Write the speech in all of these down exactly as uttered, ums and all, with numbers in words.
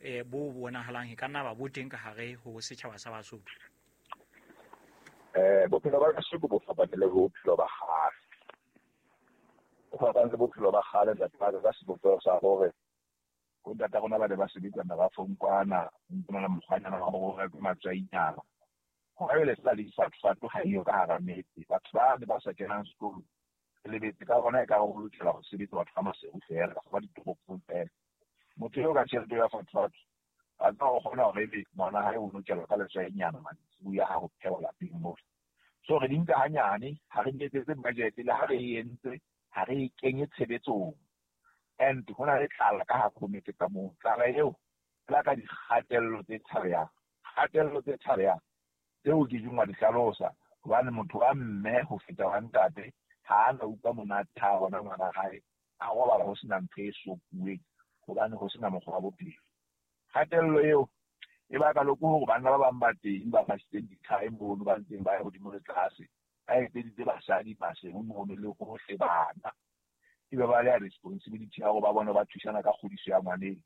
eh bo bonahalang e ka nna ba bo teng ka hare ho setjhaba sa Basotho? Eh bophelo ba kasheko bo fapane le bophelo ba kgale. Bo fapane le bophelo ba kgale ntate wa ka ka sebopeho sa hore bo ntata rona ba ne ba sebetsa merafong kwana, ho na le mokgwanyana wa hore ho rekwe matswainyana. Hona jwale se le difatufatu ha eyo ka hara metse. Batho ba ne ba sa kenang sekolo re lebetse ka hona ekare ho lokela ho sebetsa batho ba Maseru feela kapa ba ditoropong feela. Motho eo ka tjhelete ya fatufatu a tseba o kgona hore ebe ngwana hae o lokelwa ka letswainyana mantsiboya ha ho phehwa lapeng moo. So re di nka hanyane, ha re di etsetse budget le ha re e entse, ha re e kenye tshebetsong. And ho na le tlala ka hare ho metse ka moo. Tlala eo e baka dikgatello tse tshabehang, kgatello tse tshabehang tseo ke keng wa di hlalosa hobane motho wa mme ho feta wa ntate ha a na utlwa monate ha a bona ngwana hae a robala ho sena ntho e sokuweng hobane ho sena mokgwa wa bophelo. Kgatello eo e baka le hore banna ba bang ba teng ba fasitseng dithae mono, ba ntseng ba ya hodimo le tlase, ba etseditse basadi Maseru mono le hohle bana. Ebe ba le responsibility ya hore ba bone ba thusana ka kgodiso ya ngwaneng.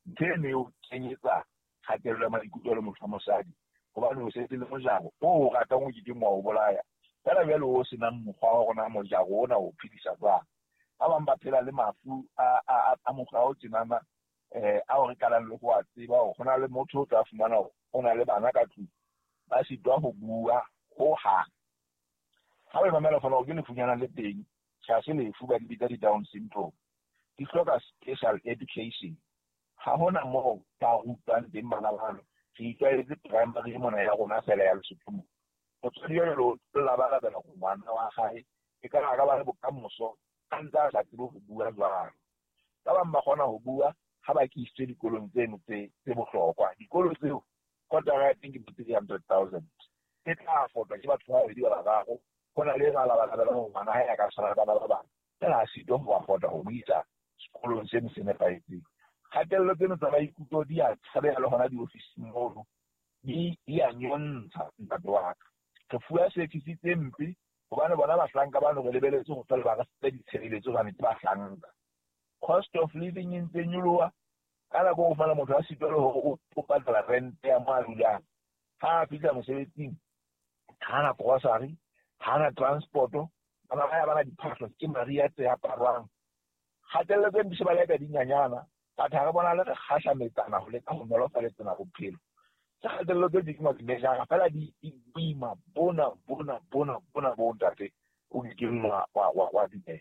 Ntho eno e o kenyetsa kgatello ya maikutlo le motho wa mosadi hobane o setse le mojaro o o ratang o kekeng wa o bolaya. Feela jwale o senang mokgwa wa hore na mojaro ona o phedisa jwang. Ba bang ba phela le mafu a a a mokgwa o tjenana eh ao re qalang le ho a tseba hore ho na le motho o tla fumana hore o na le bana ka tlung ba sitwa ho bua hohang. Ha o e mamela fela hore ke lefunyana le teng, tjhe ha se lefu, ba di bitsa di-Down syndrome. Di hloka special education. Ha hona moo ba rutwang teng bana bano. Re itlwaetse primary mona ya rona feela ya Lesotho mona. Motswadi jwale o labalabela hore ngwana wa hae e ka re a ka ba le bokamoso a ntse a sa tsebe ho bua jwalo. Ba bang ba kgona ho bua ha ba kisitswe dikolong tseno tse tse bohlokwa. Dikolo tseo kotara ya teng ke bo three hundred thousand. E tla affordwa ke batho ba babedi ba bararo. Ho na le ba labalabelang hore ngwana hae a ka tshwana le bana ba bang. Feela a sitwa ho afforda ho mo isa sekolong seno se nepahetseng. Kgatello tseno tsa maikutlo di a tshabeha le hona diofising mono, di di a nyontsha ntate wa ka. Re fuwa service tse mpe hobane bona bahlanka bano re lebeletse ho fela ba re fe ditshebeletso hobane ke bahlanka. Cost of living e ntse nyoloha. Ka nako o fumana motho a sitwa le hore o o patala rent ya mo a dulang. Ha a fihla mosebetsing, ha na grocery, ha na transport-o, bana ba ya bana diphahlo ke mariha tse aparwang. Kgatello tse mpe se ba leka dinyanyana. Batho ha re bona le re kgahlametsana ho leka ho nolofaletsana bophelo. Tse kgatello tse ding wa di measure feela di di boima bona bona bona bona bo ntate o kekeng wa wa wa wa dumela.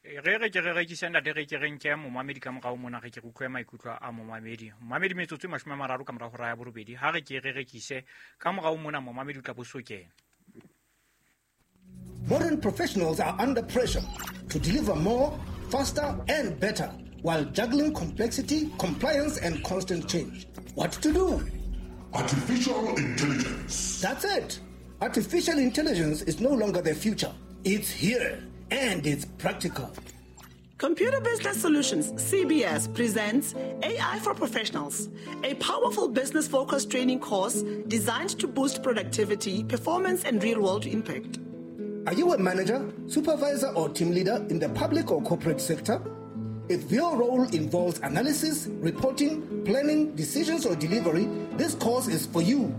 Re re ke re rekise ntate, re ke re nke momamedi ka morao mona, re ke re utlwe maikutlo a momamedi. Momamedi metsotso e mashome a mararo ka morao hora ya borobedi. Ha re ke re rekise ka morao mona, momamedi o tla bo so kena. Modern professionals are under pressure to deliver more, faster and better while juggling complexity, compliance and constant change. What to do? Artificial intelligence. That's it. Artificial intelligence is no longer the future. It's here and it's practical. Computer Business Solutions, C B S, presents A I for Professionals, a powerful business-focused training course designed to boost productivity, performance, and real-world impact. Are you a manager, supervisor, or team leader in the public or corporate sector? If your role involves analysis, reporting, planning, decisions, or delivery, this course is for you.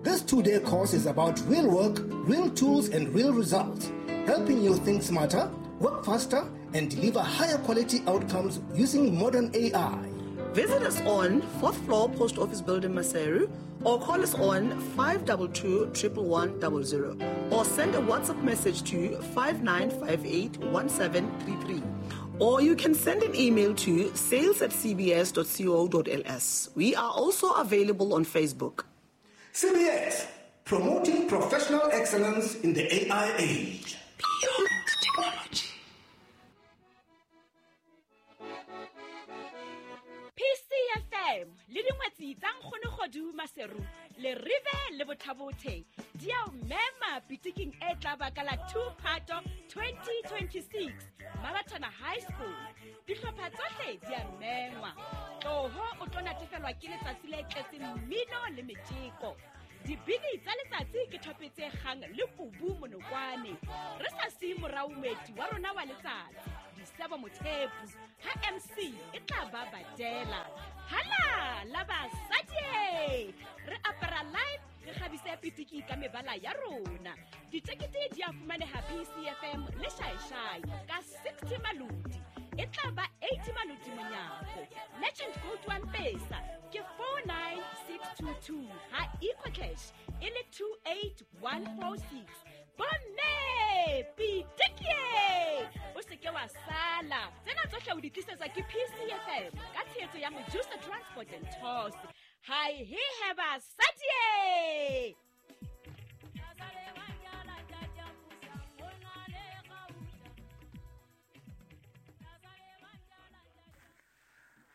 This two-day course is about real work, real tools, and real results, helping you think smarter, work faster, and deliver higher quality outcomes using modern A I. Visit us on fourth floor Post Office Building, Maseru, or call us on five two two, triple one, double zero, or send a WhatsApp message to five nine five eight, one seven three three. Or you can send an email to sales at c b s dot co dot l s. We are also available on Facebook. C B S, promoting professional excellence in the A I age. Beyond technology. P C F M le dingwetsi tsa nkgono Kgodu Maseru le Rive le Bothabothe di a o mema pitiking e tla ba ka la two Phato twenty twenty-six Mabatana High School. Dihlopha tsohle di a mengwa. Tloho o tlo natefelwa ke letsatsi le tletseng mmino le metjeko. Dibini tsa letsatsi ke thope tse kgang le kubu monokwane. Re sa siye morao moeti wa rona wa letsatsi, Disebo Mothepu, ha M C e tla ba badela. Ha la basadi. Re apara live, re kgabise pitiki ka mebala ya rona. Ditekete di a fumaneha P C F M le Shaishai ka sixty malodi. E tla ba eighty malodi monyako. Legend code one pesa ke four nine six two two ha EcoCash e le two eight one four six. Bomme pitiki o se ke wa sala. Tsena tsohle o di tlisetsa ke P C F M ka tshehetso ya Medusa Transport and Tours. Hi he heba sadie.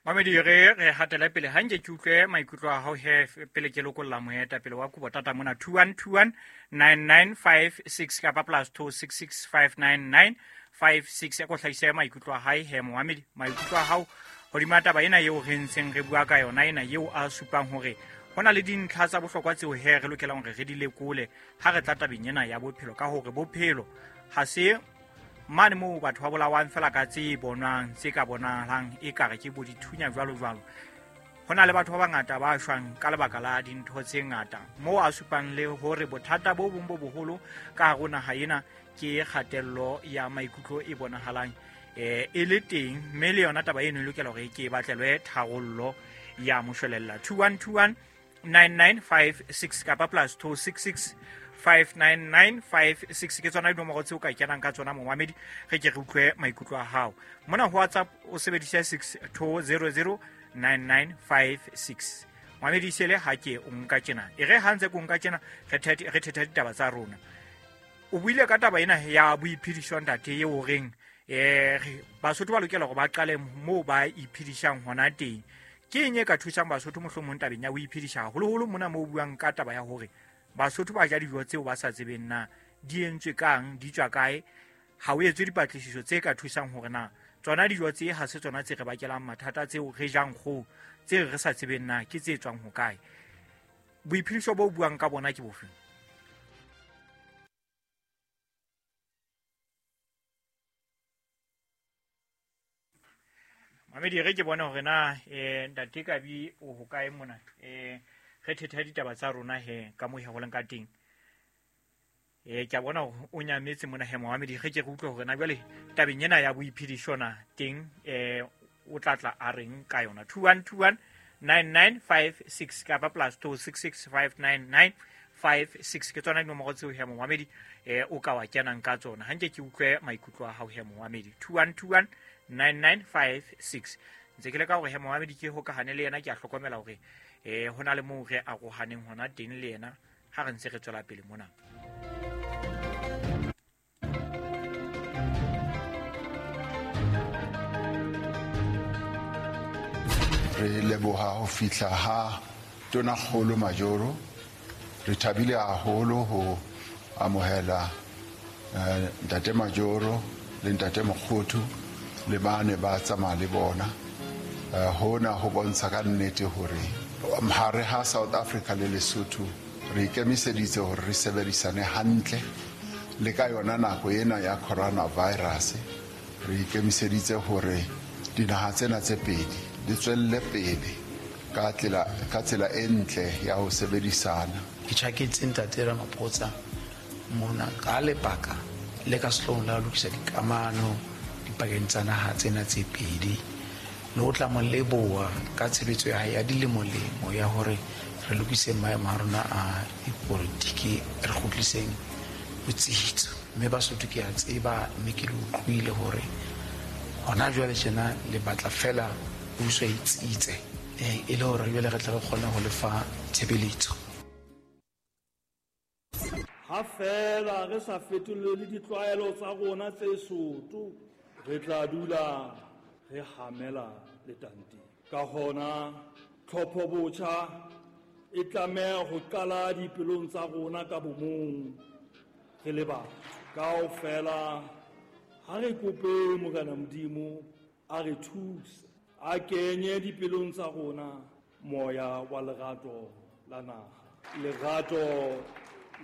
Mamedi re re hatela pele hanke ke utlwe maikutlo a hao he pele ke lokolla moeta pele wa kobo tata mona two one two one nine nine five six kapa plus two six six five nine nine five six ya ko hlahisa maikutlo a hae he momamedi maikutlo a hao hodima taba ena eo re ntseng re bua ka yona ena eo a supang hore hona le dintlha tsa bohlokwa tseo he re lokelang hore re di lekole ha re tla tabeng ena ya bophelo ka hore bophelo ha se mane moo batho ba bolawang fela ka tse bonwang tse ka bonahalang e kare ke bo dithunya jwalo jwalo. Hona le batho ba bangata ba shwang ka lebaka la dintho tse ngata moo a supang le hore bothata bo bong bo boholo ka hare ho naha ena ke kgatello ya maikutlo e bonahalang eh e le teng mme le yona taba eno e lokela hore ke e batlelwe tharollo ya moshwelella. Two one two one nine nine five six kapa plus two six six five nine nine five six ke tsona dinomoro tseo ka kenang ka tsona momamedi re ke re utlwe maikutlo a hao mona ho WhatsApp o sebedisa six two zero zero nine nine five six momamedi sele ha ke o nka tjena e re ha ntse ko nka tjena re thethe re thethe ditaba tsa rona. O buile ka taba ena ya boiphediso ntate eo o reng eh Basotho ba lokela hore ba qale moo ba iphedisang hona teng. Ke eng e ka thusang Basotho mohlomong tabeng ya ho iphedisa haholoholo mona moo buang ka taba ya hore Basotho ba ja dijo tseo ba sa tsebeng na di entswe kang di tswa kae ha o etswe dipatlisiso tse ka thusang hore na tsona dijo tse ha se tsona tse re bakelang mathata tseo re jang kgo tse re sa tsebeng na ke tse tswang ho kae. Boiphediso bo buang ka bona ke bofe? Mamedi re ke bona hore na eh ntate Kabi o ho kae mona eh re thetha ditaba tsa rona he ka mo he holeng ka teng. Eh ke a bona o nyametse mona he momamedi re ke re utlwe hore na jwale tabeng ena ya boiphediso na teng eh o tla tla a reng ka yona. Two one two one nine nine five six kapa plus two six six five nine nine five six ke tsona dinomoro tseo he momamedi eh o ka wa kenang ka tsona. Hanke ke utlwe maikutlo a hao he momamedi two one two one nine nine five six ntse ke le ka hore he momamedi ke hokahane le yena ke a hlokomela hore eh hona le moo re arohaneng hona teng le yena ha re ntse re tswela pele mona. Re leboha ho fihla ha Tonakgolo Majoro. Re thabile haholo ho amohela ntate Majoro le ntate Mokgothu le bane ba tsamaya le bona. Hona ho bontsha ka nnete hore hare ha South Africa le Lesotho re ikemiseditse hore re sebedisane hantle le ka yona nako ena ya coronavirus. Re ikemiseditse hore dinaha tsena tse pedi di tswelle pele ka tsela ka tsela e ntle ya ho sebedisana. Ke tjhaketse ntate Ramaphosa mona ka lebaka le ka sehloohong la ho lokisa dikamano dipakeng tsa naha tsena tse pedi le ho tla mo leboha ka tshebetso ya hae ya dilemolemo ya hore re lokise maemo a rona a dipolitiki re kgutliseng botsitso. Mme Basotho ke a tseba mme ke le utlwile hore hona jwale tjena le batla fela puso e tsitse e le hore jwale re tla re kgone ho lefa tshebeletso. Ha fela re sa fetolele ditlwaelo tsa rona tse soto re tla dula re hamela letanteng. Ka hona tlhopho botjha e tlameha ho qala dipelong tsa rona ka bomong re le batho. Kaofela ha re kope Morena Modimo a re thuse a kenye dipelong tsa rona moya wa lerato la naha, lerato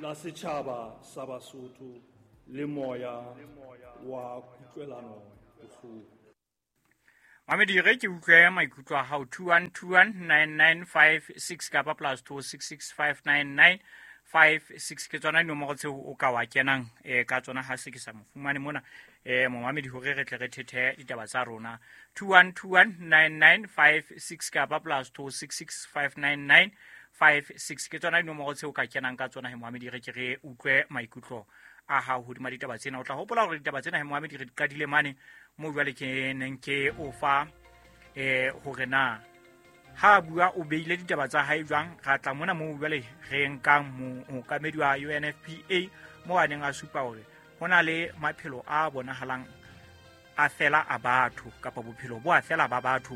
la setjhaba sa Basotho le moya wa kutlwelano bohloko. Mamedi re ke utlwe maikutlo a hao two one two one nine nine five six kapa plus two six six five nine nine five six ke tsona dinomoro tseo o ka wa kenang eh ka tsona ha se ke sa mo fumane mona eh momamedi hore re tle re thethe ditaba tsa rona two one two one nine nine five six kapa plus two six six five nine nine five six ke tsona dinomoro tseo ka kenang ka tsona he momamedi re ke re utlwe maikutlo a hao hodima ditaba tsena. O tla hopola hore ditaba tsena he momamedi re di qadile mane mo jwale ke neng ke o fa eh hore na ha bua o beile ditaba tsa hae jwang. Ra tla mona mo jwale re nkang mookamedi wa U N F P A mo a neng a supa hore ho na le maphelo a bonahalang a fela a batho kapa bophelo bo a fela ba batho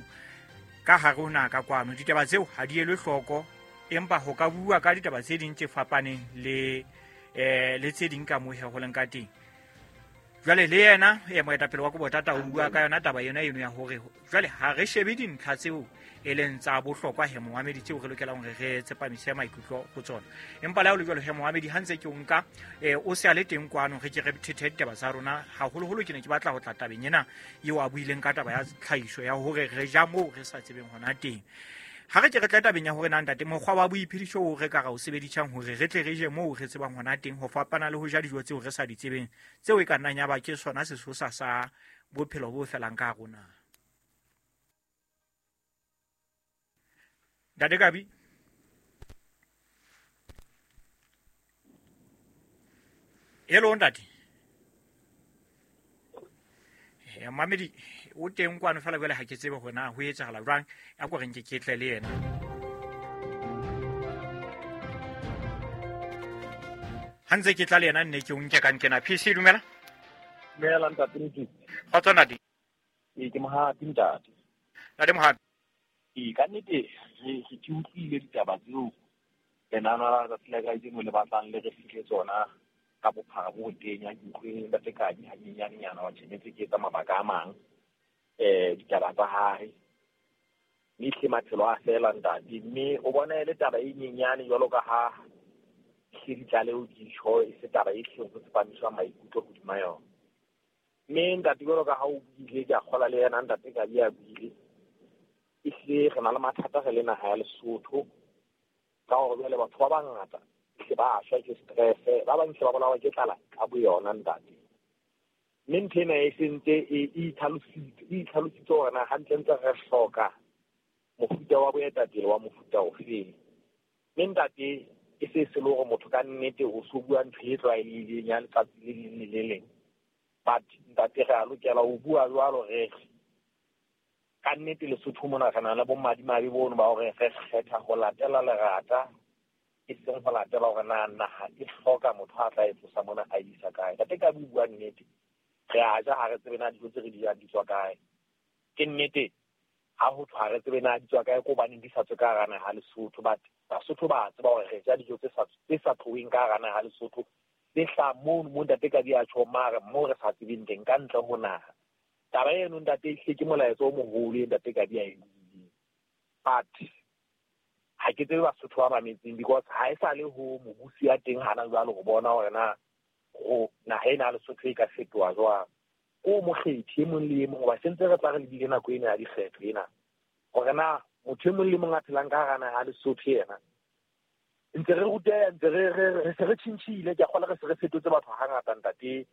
ka hare ho naha ka kwano. Ditaba tseo ha di elwe hloko, empa ho ka bua ka ditaba tse ding tse fapaneng le eh le tse ding ka moo he ho leng ka teng. Jwale le yena e moetapele wa Kobotata o bua ka yona taba yona eno ya hore jwale ha re shebe dintlha tseo e leng tsa bohlokwa he momamedi tseo re lokelang hore re tsepamise maikutlo ho tsona. Empa le ha o le jwalo he momamedi ha ntse ke o nka eh o se a le teng kwano re ke re thethe ditaba tsa rona. Haholoholo ke ne ke batla ho tla tabeng ena eo a buileng ka taba ya tlhahiso ya hore re ja moo re sa tsebeng hona teng. Ha re ke re tla tabeng ya hore na ntate mokgwa wa boiphediso o re ka ra o sebedisang hore re tle re je moo re tsebang hona teng ho fapana le ho ja dijo tseo re sa di tsebeng tseo e ka nnang ya ba ke sona sesosa sa bophelo bo felang ka rona. Ntate Kabi, hello ntate. Eh mamedi o teng kwano fela jwale ha ke tsebe hore na ho etsahala jwang, a ko re nke ke tle le yena. Ha ntse ke tla le yena nne ke o nke ka nkena. P C dumela. Dumela ntate Motsu. Kgotso ntate. Ee ke Mohapi ntate. Ntate Mohapi. Ee ka nnete re re ke utlwile ditaba tseo lenano la letsatsi la kajeno le batlang le re fihle tsona ka bophara bo tenya. Ke utlwe ntate Kabi hanyenyanenyana wa tjhelete ke etsa mabaka a mang eh ditaba tsa hae mme hle maphelo a fela ntate. Mme o bona e le taba e nyenyane jwalo ka ha hle ditlaleho di tjho e se taba e hleng ho tsepamiswa maikutlo hodima yona. Mme ntate jwalo ka ha o buile ke a kgola le yena ntate Kabi a buile, ehlile re na le mathata re le naha ya Lesotho ka hore jwale batho ba bangata hle ba shwa ke stress, ba bang hle ba bolawa ke tlala ka boyona ntate. Mme ntho ena e sentse e itlhalositse e itlhalositse hore na hantlentle re hloka mofuta wa boetapele wa mofuta ofeng. Mme ntate e se se le hore motho ka nnete o so bua ntho e tlwaelehileng ya letsatsi le leng le le leng, but ntate re a lokela ho bua jwalo re ka nnete Lesotho mona re na le bomadimabe bono ba hore re kgetha ho latela lerata e seng ho latela hore na naha e hloka motho a tla e tlosa mona a isa kae. Ntate ka bua nnete re a ja ha re tsebe na dijo tse re di jang di tswa kae. Ke nnete ha ho thwe ha re tsebe na di tswa kae ko hobaneng di sa tswe ka hara naha Lesotho, but Basotho ba tseba hore re ja dijo tse sa tse sa tloheng ka hara naha Lesotho tse hlahang mono mo ntate ka di a tjho mare mo re sa tsebeng teng ka ntle ho naha. Taba eno ntate ehlile ke molaetsa o moholo e ntate ka di a e buileng, but ha ke tsebe Basotho ba mametseng because ha e sa le ho mobusi ya teng hana jwale ho bona hore na ho naha ena ya Lesotho e ka fetoha jwang. Ko mokgethi e mong le e mong hoba sentse re tla re lebile nako ena ya dikgetho ena hore na motho e mong le mong a phelang ka hara naha ya Lesotho yena ntse re ruteha ntse re re se re tjhentjhile. Ke a kgolwa re se re fetotse batho hangata ntate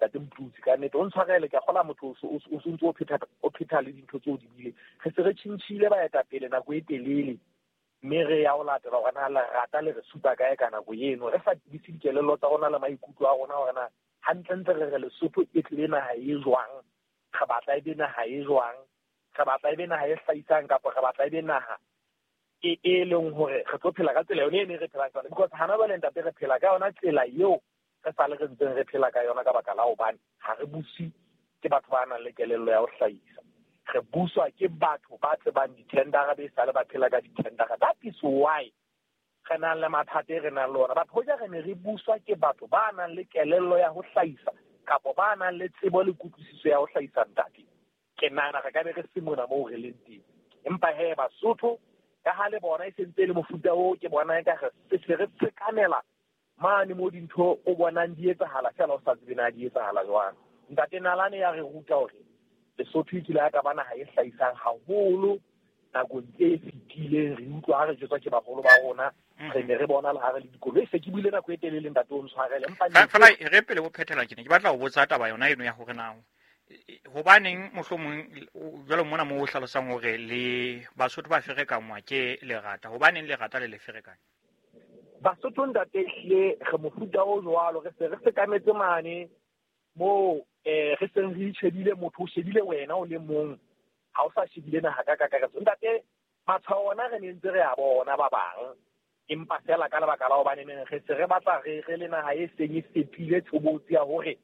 ntate Motutsi ka nnete o ntshwarele ke a kgolwa motho o o ntse o phetha o phetha le dintho tseo di buileng. Re se re tjhentjhile baetapele nako e telele mme re ya ho latela hore na lerata le re supa kae ka nako eno re sa tebise dikelello tsa rona le maikutlo a rona hore na hantlentle re re Lesotho e tlile naha e jwang, re batla e be naha e jwang, re batla e be naha e hlahisang kapa re batla e be naha e e leng hore re tlo phela ka tsela yone e ne re phelang ka yona. Because hana jwale ntate re phela ka yona tsela eo re sa le re ntseng re phela ka yona ka baka la hobane ha re buse ke batho ba nang le kelello ya ho hlahisa, re buswa ke batho ba tsebang di-tendera be sale ba phela ka di-tendera. That is why re nang le mathata e re nang le ona. Batho hoja re ne re buswa ke batho ba nang le kelello ya ho hlahisa kapa ba nang le tsebo le kutlwisiso ya ho hlahisa ntate, ke nahana re ka be re se mona moo re leng teng. Empa he Basotho ka ha le bona e sentse le mofuta oo ke bona eka re se re tshekamela mane mo dintho o bonang di etsahala fela o sa tsebe na di etsahala jwang. Ntate Nalane ya re ruta hore Lesotho e kile ya ka ba naha e hlahisang haholo nakong tse fetileng, re utlwa ha re jwetswa ke baholo ba rona, re ne re bona le ha re le dikoloi. Se ke buile nako e telele ntate o ntshwarele, empa fela re pele o phethela ke ne ke batla ho botsa taba yona eno ya hore na hobaneng mohlomong jwalo mona mo o hlalosang hore le Basotho ba ferekangwa ke lerata, hobaneng lerata le le ferekanya Basotho ntate? Ehlile re mofuta o jwalo, re se re sekametse mane moo eh re seng re itjhebile, motho o shebile wena o le mong, ha o sa shebile naha ka kakaretso. Ntate, matshwao ona re ne ntse re a bona ba bang, empa fela ka lebaka la hobane neng re se re batla re re le naha e seng e fetohile tshobotsi ya hore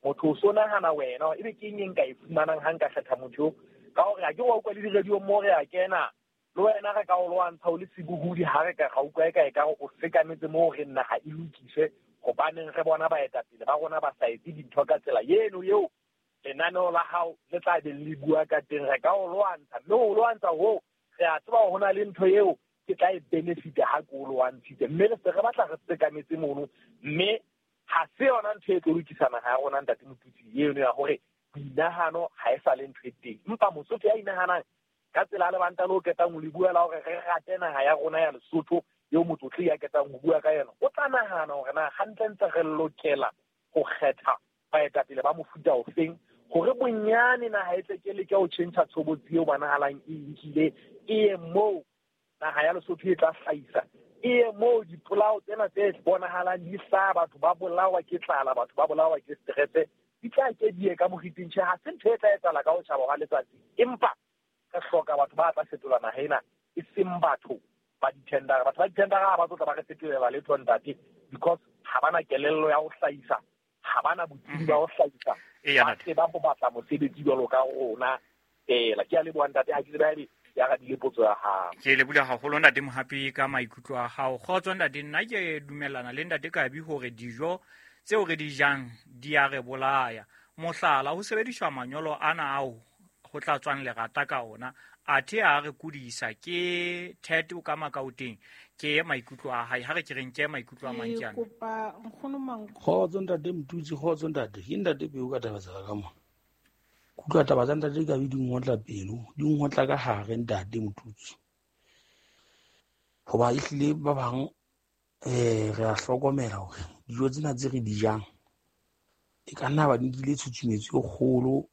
motho o so nahana wena ebe ke eng e nka e fumanang ha nka kgetha motho, ka hore ha ke wa utlwa le di-radio mo re a kena le wena re ka o lwantsha o le sebohodi, ha re ka ra utlwa e ka e ka o sekametse moo re naha e lokiswe, hobaneng re bona baetapele ba rona ba sa etse dintho ka tsela eno eo lenaneo la hao le tla be le bua ka teng, re ka o lwantsha. Mme o lwantsha hoo, re a tseba ho na le ntho eo ke tla e benefit ha ke o lwantshitse, mme re se re batla re sekametse mono, mme ha se yona ntho e tlo lokisa naha ya rona ntate Motutsi eno ya hore boinahano ha e sa le ntho e teng. Empa Mosotho ya inahanang ka tsela lebanta le o ketang ho le bua la hore re rate naha ya rona ya Lesotho eo motlotli ya ketang ho bua ka yona, o tla nahana hore na hantlentle re lokela ho kgetha baetapele ba mofuta ofeng hore bonyane naha e tle ke leke ho tjhentjha tshobotsi eo ba nahalang e nkile, e ye moo naha ya Lesotho e tla hlahisa, e ye moo dipolao tsena tse bonahalang di hlaha, batho ba bolawa ke tlala, batho ba bolawa ke stress, di tla ke di ye ka moriting. Tjhe, ha se ntho e tla etsahala ka ho tjhaba hwa letsatsi, empa re hloka batho ba tla fetola naha ena, e seng batho ba di-tendera. Batho ba di-tendera ha ba tlo tla ba re fetolela letho ntate, because ha bana kelello ya ho hlahisa, ha bana botsebi ba ho hlahisa, ba tseba ho batla mosebetsi jwalo ka rona fela. Ke a leboha ntate, ha ke tsebe haebe ya radile potso ya hao. Ke leboha haholo ntate Mohapi ka maikutlo a hao. Kgotso ntate, nna ke dumellana le ntate Kabi hore dijo tseo re di jang di a re bolaya. Mohlala, ho sebediswa manyolo ana ao ho tla tswang lerata ka ona, athe a re kudisa ke thete o ka makaoteng. Ke maikutlo a hae, ha re ke reng ke maikutlo a mang ke ana. Kopa nkgono mang. Kgotso ntate Motutsi, kgotso ntate. Ke ntate Peo ka taba tsa ka mona. Kutlwa taba tsa ntate Kabi di ngotla pelo, di ngotla ka hare ntate Motutsi. Hoba ehlile ba bang eh re a hlokomela hore dijo tsena tse re di jang e ka nna ba nkile tshutshumetso e kgolo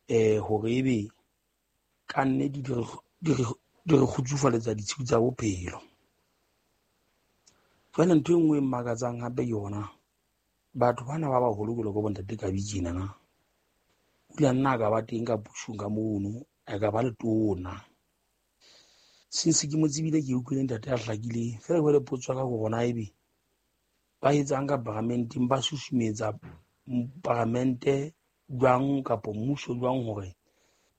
eh hore ebe ka nnete di re di re di re kgutsufaletsa ditshiu tsa bophelo. Jwale ntho e nngwe e mmakatsang hape yona, batho bana ba baholo jwalo ka bo ntate Kabi tjena na, o ile a nna a ka ba teng ka pusong ka mono, a ka ba letona. Since ke mo tsebile ke utlwile ntate a hlakileng, feela jwale potso ya ka ke hore na ebe ba etsang ka paramenteng, ba susumetsa paramente jwang kapa mmuso jwang hore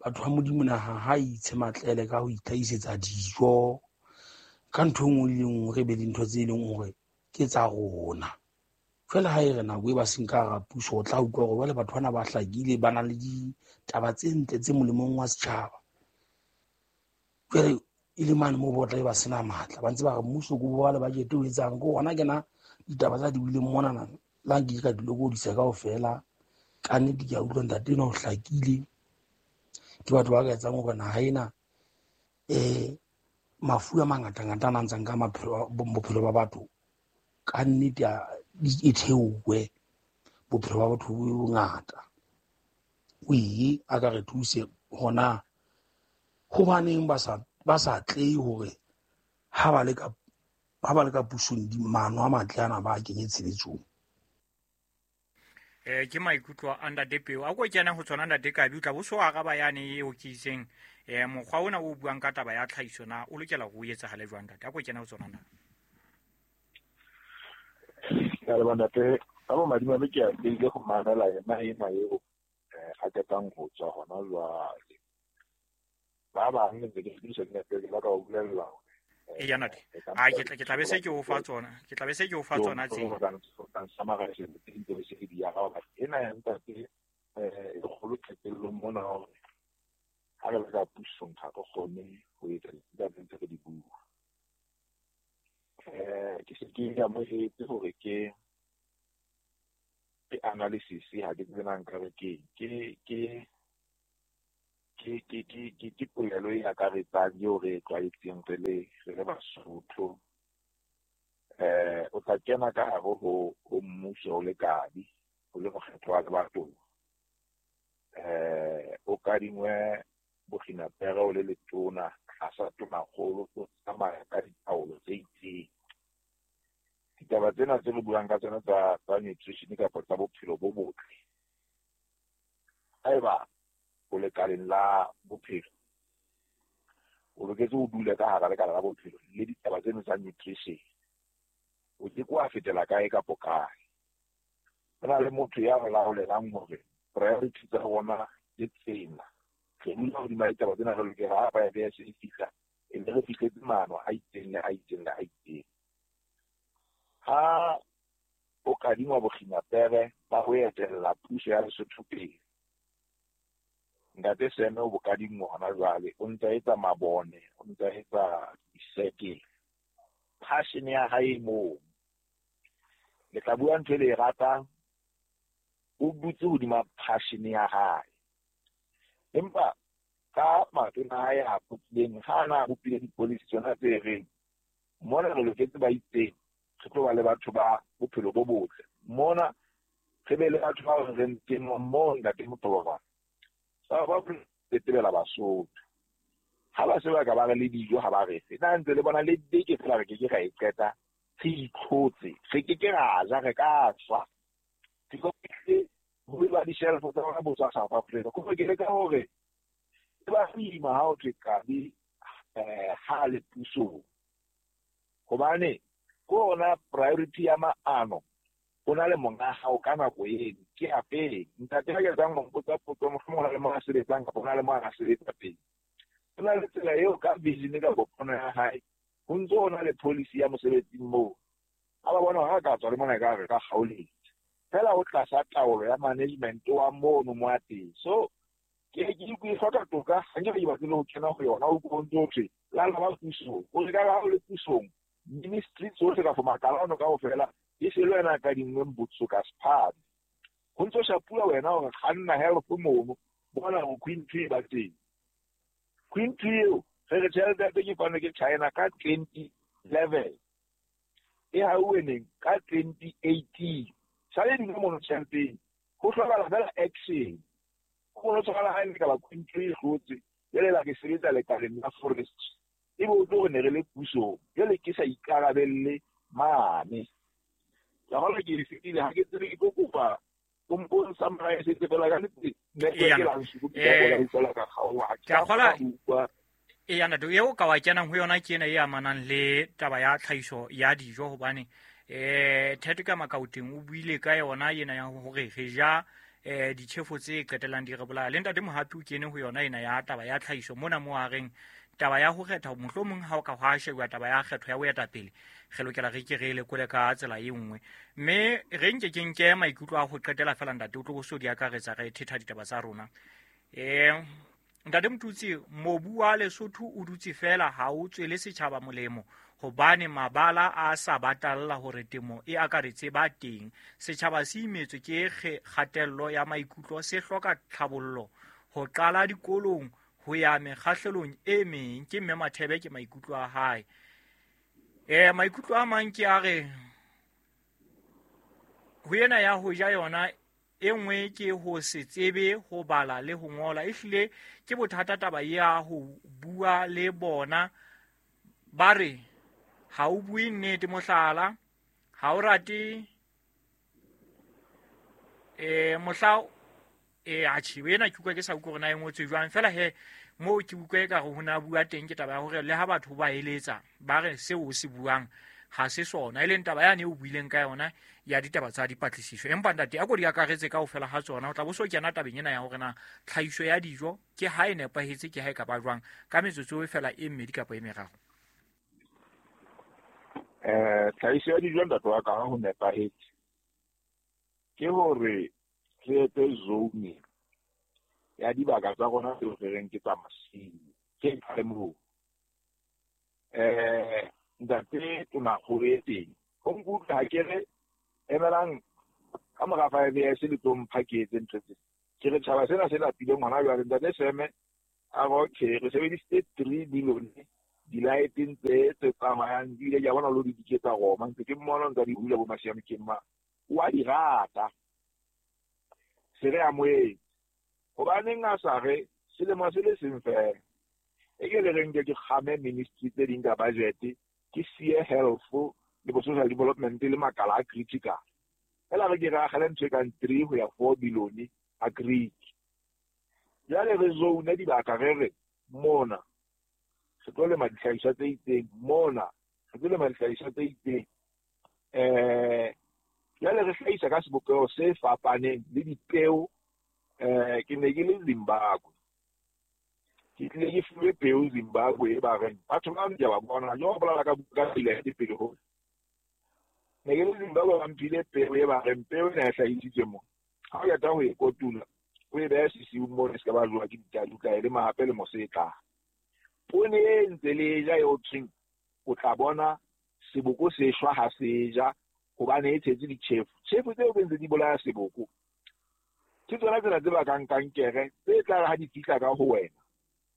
batho ba Modimo naha ha itshe matlele ka ho itlhahisetsa dijo ka ntho e nngwe le nngwe, re be le ntho tse leng hore ke tsa rona. Jwale ha e re nako e ba seng ka hara puso, o tla utlwa hore jwale batho bana ba hlakile, ba na le ditaba tse ntle tse molemong wa setjhaba. Jwale e le mane moo ba tla ba sena matla, ba ntse ba re mmuso ko ba le budget o etsang, ko hona kena ditaba tsa di buileng monana la nke ka di lokodisa kaofela. Ka nnete ke a utlwa ntate enwa o hlakile, ke batho ba ka etsang hore naha ena eh mafu a mangatangata a nang ntsang ka maphelo bophelo ba batho ka nnete e theowe, bophelo ba batho bo bongata. O ye a ka re thuse hona hobaneng ba sa ba sa tle hore ha ba le ka ha ba le ka pusong di mano a matle ana ba kenye tshebetsong. Eh ke maikutlo a ntate Peo. A ko kena ho tsona ntate Kabi, o tla bo so araba yane eo ke itseng eh mokgwa ona o buang ka taba ya tlhahiso na o lokela ho etsahale jwang ntate? A ko kena ho tsona ntate. Ke a leboha ntate. Ka bo madimabe ke a ile go mamela yena ena eo eh a ketang ho tswa hona jwale. Ba bang ntse ke sebedisa dina ke ba ka o bolella hore e ya ntate. A ke tla ke tla be se ke o fa tsona. Ke tla be se ke o fa tsona tse. Ena ya ntate eh e kgolo qetellong mona hore ha re le ka pusong ha re kgone ho etsa ditaba tse re di bua. Eh ke se ke amohetse hore ke ke analysis ha ke tsena nka re ke ke ke Ke ke ke ke ke polelo e akaretsang eo re e tlwaetseng re le re le Basotho. Eh o tla kena ka hare ho ho mmuso o le kabi, o le mokgetho wa lebatowa. Eh o kadingwe bokginapere o le letona tlasa tonakgolo, o tsamaya ka ditaolo tse itseng. Ditaba tsena tse re buang ka tsona tsa tsa nutrition kapa tsa bophelo bo botle, haeba o lekaleng la bophelo, o loketse o dule ka hara lekala la bophelo le ditaba tseno tsa nutrition, o ke ke wa fetela kae kapo kae. Ho na le motho ya re laolelang hore priority tsa rona ke tsena. Re dula hodima ditaba tsena, re lokela ha five years e fihla, e be re fihletse maano a itseng le a itseng le a itseng. Ha o kadingwa bokginapere ba ho etella puso ya Lesotho pele, Ntate Seme o bokadingwa hona jwale, o ntsa etsa mabone, o ntsa etsa disekele. Passion ya hae moo. Le tla bua ntho e le e ratang, o dutse hodima passion ya hae. Empa ka matona a hae a bopileng, ha a na bopile di-policy tsona tse reng mona re loketse ba itseng, re tlo ba le batho ba bophelo bo botle. Mona re be le batho ba re reng temo moo ntate Mothoba. Ba ba tetebela Basotho. Ha ba se ba ka ba re le dijo ha ba re fe. Na ntse le bona le beke fela re ke ke ra e qeta, re itlhotse, re ke ke ra ja, re ka tswa. Ho ba di-shelf tsa rona bo tswa South Africa. Ko ke leka hore e ba boima ha o thwe Kabi eh ha le pusong. Hobane ko ona priority ya maano, o na le monga hao ka nako eno, ke a pele. Ntate ha ke tsang ho mpotsa potso, mohlomong ho na le mo a sebetsang kapa ho na le mo a sebetsa pele. Ho na le tsela eo ka vision ka pono ya hae, ho ntso ho na le policy ya mosebetsing moo. Ha ba bona ha ka tswa le mona e ka re ka kgaoletse. Fela o tlasa taolo ya management wa mono mo a teng. So ke ke ke hloka toka, ha nke ke batle ho kena ho yona, o ko ntso thwe la la ba pusong, o re ka ha o le pusong, ministry tsohle ka for makala ono kaofela e se le wena ka dingweng botso ka sephadi. Ho ntso shapua wena hore kganna health mono, bona ho Queen Tree ba teng. Queen Tree eo, re re tjhelete ya teng e fanwe ke China ka twenty eleven. E hauwe neng? Ka twenty eighteen. Sale dingwe mono tjheleteng. Ho hlokahala fela action. Ho no tshwana ha e ka ba Queen Tree e hlotse, jwale la ke sebetsa lekaleng la forest. Ebe o tlo re ne re le pusong, jwale ke sa ikarabelle mane. Ka hona ke fetile ha ke tsebe ke tlo kopa o mpone summarize fela ka nnete, network e la nsuku ke tla bona ka kgaoha. Ke a kgola e ya ntate eo ka wa kenang ho yona ke ena e amanang le taba ya tlhahiso ya dijo, hobane eh Thato ka Makaoteng o buile ka yona ena ya hore re ja eh ditjhefo tse qetellang di re bolaya. Le ntate Mohapi o kene ho yona ena ya taba ya tlhahiso mona mo a reng taba ya ho kgetha, mohlomong ha o ka hwa shebuwa taba ya kgetho ya boetapele, re lokela re ke re lekole ka tsela e nngwe. Mme re nke ke nke maikutlo a ho qetela fela ntate, o tlo bo so di akaretsa re thetha ditaba tsa rona. Eh ntate Motutsi, mobu wa Lesotho o dutse fela ha o tswele setjhaba molemo, hobane mabala a sa batalla hore temo e akaretse ba teng. Setjhaba se imetswe ke kgatello ya maikutlo, se hloka tlhabollo ho qala dikolong ho ya mekgahlelong e meng. Ke mme Mathebe, ke maikutlo a hae. Eh maikutlo a mang ke a re ho ena ya ho ja yona e nngwe ke ho se tsebe ho bala le ho ngola. Ehlile ke bothata taba ya ho bua le bona, ba re ha o bue nnete, mohlala ha o rate eh mohla e atjhe ena ke utlwa ke sa utlwe hore na e ngotswe jwang. Fela he moo ke utlwa ekare ho na bua teng ke taba ya hore le ha batho ba eletsa ba re seo o se buang ha se sona, e leng taba yane o buileng ka yona ya ditaba tsa dipatlisiso. Empa ntate a ko di akaretse kaofela ha tsona, o tla bo so kena tabeng ena ya hore na tlhahiso ya dijo ke ha e nepahetse, ke ha e ka ba jwang, ka metsotso e fela e mmedi kapa e meraro. Eh tlhahiso ya dijo ntate wa ka ha ho nepahetse ke hore re etse zoning ya dibaka tsa rona tseo re reng ke tsa masimo, ke qale moo. Eh ntate tonakgolo e teng ho nkutlwa ha ke re emelang ka mora five years le tlo mpha ke etse ntho tse. Ke re tjhaba sena se lapileng hona jwale. Ntate Seme A re okay, re sebedisitse three billion di-light-eng tse tse tsamayang di ile ke a bona lo di diketsa Roma ntse ke mmona ntse a di hula bo Masiamokeng ma o a di rata. Se re amohetse. Hobaneng a sa re selemo se le seng fela. E ke le reng ke kgame ministry tse ding ka budget, ke siye health le bo social development le makala a critical. Fela re ke re agele ntho e kang three ho ya four billion a greek. Jwale re zone dibaka re re mona re tlo lema dihlahiswa tse itseng, mona re tlo lema dihlahiswa tse itseng. Eh jwale re hlahisa ka sebopeho se fapaneng le dipeo. Eh ke ne ke le Zimbabwe, ke tlile ke fuwe peo Zimbabwe e ba reng batho ba ke ba bona jo bolela ka buka pele ya dipele ho ne ke le Zimbabwe ba mphile peo e ba reng peo ena e hlahisitswe mo ha o yata ho e kotula o e beha sesiung mo e se ka ba jowa ke ditau ka e lema hape le mosetla. Poone e ntse le ja eo thweng o tla bona seboko se shwa ha se ja hobane e tshetse ditjhefu. Tjhefu tseo be ntse di bolaya seboko ke tsona tsena tse bakang kankere tse tla re ha di fihla ka ho wena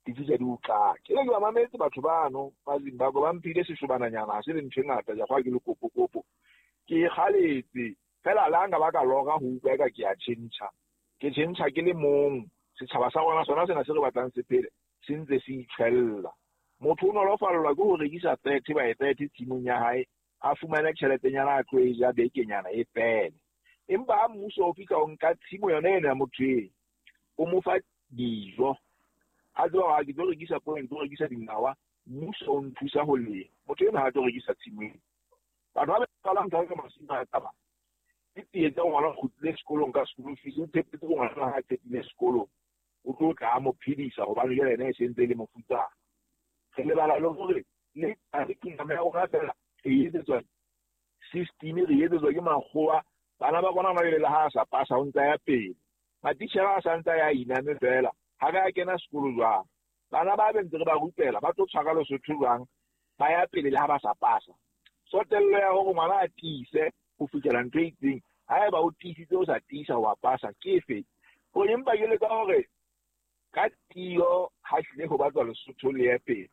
di fihla di o qaka. Ke le ke ba mametse batho bano ba Zimbabwe ba mphile seshobananyana ha se le ntho e ngata ja kwa ke le kopokopo. Ke kgaletse fela le ha nka ba ka lora ho utlwa eka ke a tjhentjha. Ke tjhentjha ke le mong. Setjhaba sa rona sona sena se re batlang se phele se ntse se itjhwella. Motho o nolofallwa ke ho rekisa thirty by thirty tshimong ya hae a fumane tjheletenyana a tlo e ja bekenyana e fele. Empa ha mmuso o fihla o nka tshimo yona ena ya motho eo, o mo fa dijo. A tseba hore ke tlo rekisa poone, ke tlo rekisa dinawa, mmuso o nthusa ho lema. Motho ena ha tlo rekisa tshimo eo. Batho ba ba qalang ka masimo a taba ke tsie tsa ngwana o kgutlile sekolong ka school fees, o tshepetse ngwana ha a qetile sekolong o tlo tla mo phedisa hobane jwale ena e sentse e le mofutsana. Re lebala le hore le curriculum ya rona fela re etsetswa system, re etsetswa ke makgowa. Bana ba rona ba le ha sa pasa ho ntsa ya pele. Matitjhere a sa ntsa ya iname fela ha re a kena sekolo jwang. Bana ba be ntse re ba rupela ba tlo tshwara Lesotho jwang ba ya pele le ha ba sa pasa. Sotello ya hore ngwana a tiise ho fihlela ntho e itseng, haeba o tiisitse o sa tiisa wa pasa ke efe? Ho empa ke leka hore ka tiyo ha hlile ho batlwa Lesotho le ye pele.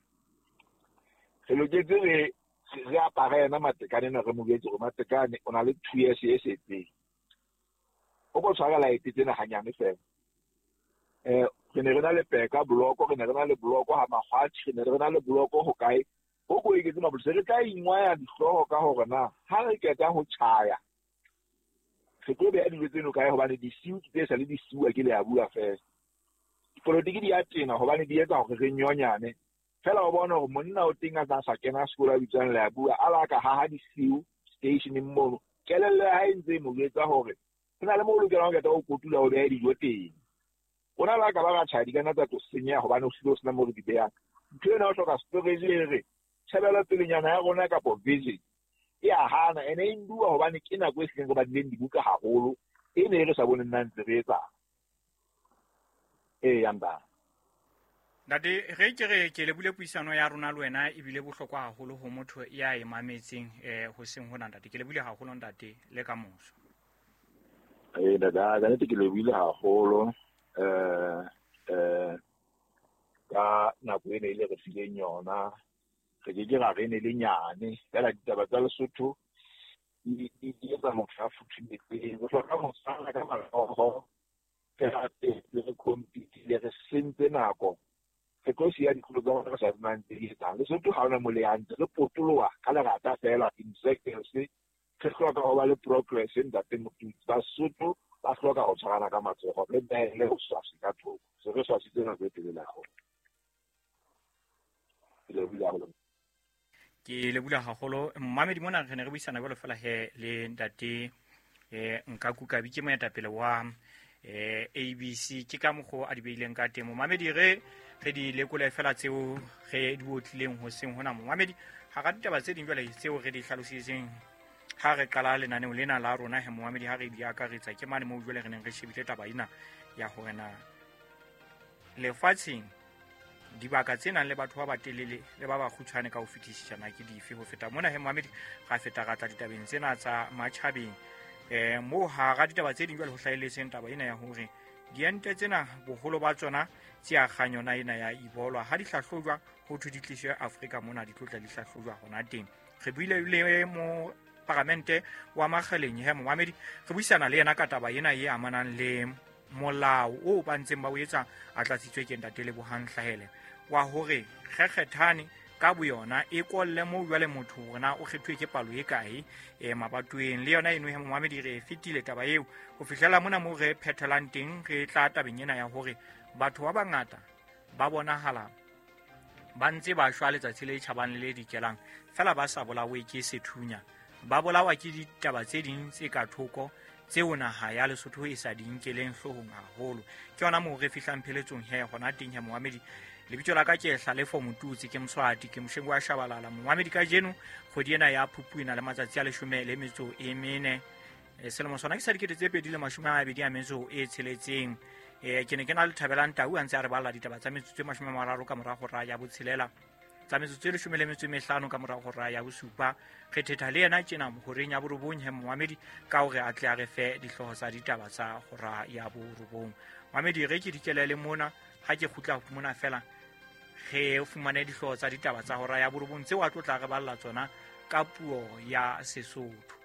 Re loketse re re apare yena Matekane na re mo jwetse hore Matekane o na le two years e setseng. O ko tshwara laete tsena hanyane fela. Eh re ne re na le peka bloko, re ne re na le bloko ha Makgwatjhe, re ne re na le bloko ho kae. Ho ko eketse mapolesa re tla ingwaya dihlooho ka hore na ha re qeta ho tjhaya re tlo beha dijo tseno kae hobane disiu tse sa le disiu ke le a bua fela. Dipolotiki di a tena hobane di etsa hore re nyonyane. Fela o bona hore monna o teng a sa sa kena sekolo a bitswang le a bua a la ka haha disiu stationeng mono. Kelello ya hae ntse e mo jwetsa hore ho na le moo o lokelang ho qeta ho kotula o behe dijo teng. Rona le ha ka ba ra tjhaya di ka nna tsa tlo senyeha hobane ho hlile ho sena moo re di behang. Ntho ena o hloka storage e re tjhebelo pelenyana ya rona kapo vision e a hana ene e nduwa hobane ke nako e hlileng re badileng dibuka haholo e ne e re sa boneng nna ntse re etsang. Ee, ya. Ntate re ke re ke lebule puisano ya rona le wena ebile bohlokwa haholo ho motho ya e mametseng eh ho seng hona ntate. Ke lebule haholo ntate le ka moso. Eh dada, ka nnete ke lebile haholo eh eh ka nako ena e le re fileng yona. Re ke ke ra re ne le nyane fela ditaba tsa Lesotho di di etsa motho a futhumetseng. Re hloka ho tshwana ka matsoho fela re compete re sentse nako. Re tlo siya dikolo tsa rona re sa tsebang tse di etsang. Lesotho ha hona mo le hantle, re potoloha ka lerata fela in circles. Re hloka ho ba le progress ntate Motutsi. Basotho ba hloka ho tshwarana ka matsoho re behele ho swasi ka thoko. Se re swasitse nako e telele haholo. Ke lebohile haholo. Ke lebohile haholo. Mmamedi mona re ne re buisana jwalo fela he le ntate eh Nkaku Kabi ke moetapele wa eh A B C ke ka mokgo a di beileng ka teng. Momamedi re re di lekole fela tseo re di otlileng ho seng hona momamedi ha ra ditaba tse ding jwale tseo re di hlalositseng ha re qala lenaneo lena la rona he momamedi ha re di akaretsa ke mane moo jwale re neng re shebile taba ena ya hore na lefatsheng dibaka tse nang le batho ba batelele le ba bakgutshwane ka ho fetisisana ke dife ho feta mona he momamedi ra feta ra tla ditabeng tsena tsa matjhabeng eh mo ha ra ditaba tse ding jwale ho hlahelletseng taba ena ya hore Diente tsena boholo ba tsona tse akgang yona ena ya Ebola ha di hlahlojwa ho thwe di tliswe Afrika mona di tlotla di hlahlojwa hona teng. Re buile le mo paramente wa Makgaleng he momamedi, re buisana le yena ka taba ena e amanang le molao o ba ntseng ba o etsa a tlatsitswe ke ntate Lebohang Hlahele wa hore kgekgethane ka boyona e kolle moo jwale motho hore na o kgethuwe ke palo e kae e mabatoweng. Le yona eno he momamedi re e fetile taba eo ho fihlela mona moo re phethelang teng. Re tla tabeng ena ya hore batho ba bangata ba bonahala ba ntse ba shwa letsatsi le tjhabang le dikelang fela ba sa bolawe ke sethunya, ba bolawa ke ditaba tse ding tse ka thoko tseo naha ya Lesotho e sa di nkeleng hloohong haholo. Ke yona moo re fihlang pheletsong he hona teng he momamedi. Lebitso la ka ke Hlalefo Motutsi, ke Moswati, ke Moshengo wa Shabalala. Momamedi, kajeno kgwedi ena ya Phupu e na le matsatsi a leshome le metso e mene. E, selemo sona ke sa dikete tse pedi le mashome a mabedi a metso e tsheletseng. E, ke ne ke na le Thabelang Tau a ntse a re balla ditaba tsa metsotso e mashome a mararo ka mora hora ya botshelela, tsa metsotso e leshome le metso e mehlano ka mora hora ya bosupa. Re thetha le yena tjena horeng ya borobong he momamedi, ka hore a tle a re fe dihlooho tsa ditaba tsa hora ya borobong. Momamedi, re ke dikelele mona, ha ke kgutla mona fela re fumane dihlooho tsa ditaba tsa hora ya borobong tseo a tlo tla re balla tsona ka puo ya Sesotho.